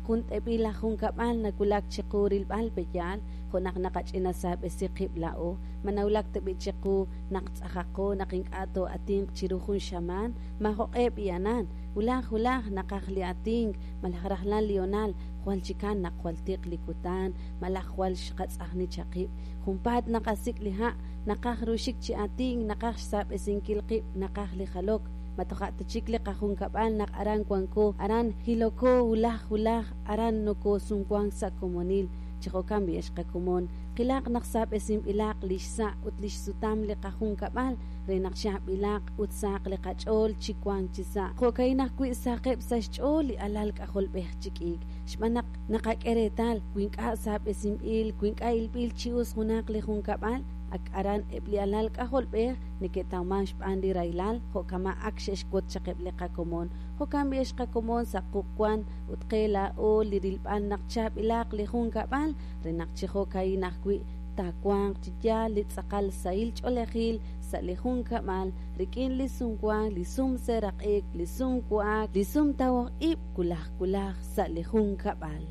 Jun t'eb'il aj junkab'al nawulak chiqu rilb'al peyaal, jo' naq naqach'ina saab'esi qib' laa'o. Ma nawulak tab'i' chiqu naq tz'ajaqo, naq ink'a' too'atinq chiru jun xamaan? Maajoq'e b'i'anan. Wulaj wulaj naqaj li atink malaj rajlal li honal, jwal chikan naq jwal tiq li kutan malaj jwal xqatz'ajni chaq qib'. Junpaat naqasik' li ha', naqaj ru xik chi atink, naqaj xsaab'esinkil qib', naqaj li jalok. Ma toja' ta chik li qajunkab'al naq aran wanko, aran jiloko wulaj wulaj, aran nokosumwank sa' komonil. Chi jo'kan b'i' ex qakomon, qilaq naq saab'esinb'ilaq li xsa' ut li xsutam li qajunkab'al re naq chaab'ilaq ut sahaq li qach'ool chi wank chi sa'. Jo'ka'in ajwi' sahaqeb' sa' xch'ool li alal k'ajolb'ej chi k'iik, xb'aan naq naqak'e reetal wi ink'a' saab'esinb'il, wi ink'a' ilb'il chi us junaq li junkab'al, ak aran eb' li alal k'ajolb'ej neke'tawmank xb'aan li rahilal, jo' kama' ak xe'xwotz chaq eb' li qakomon. Jo'kan b'i' ex qakomon sa' quq' wan ut qe laa'o li rilb'al naq chaab'ilaq li junkab'al re naq chi jo'ka'in ajwi' taawanq chi yaal li tz'aqal sahil ch'oolejil sa' li junkab'al rik'in li sumwank, li sumseeraq'ik, li sumwa'ak, li sumtawok ib' wulaj wulaj sa' li junkab'al.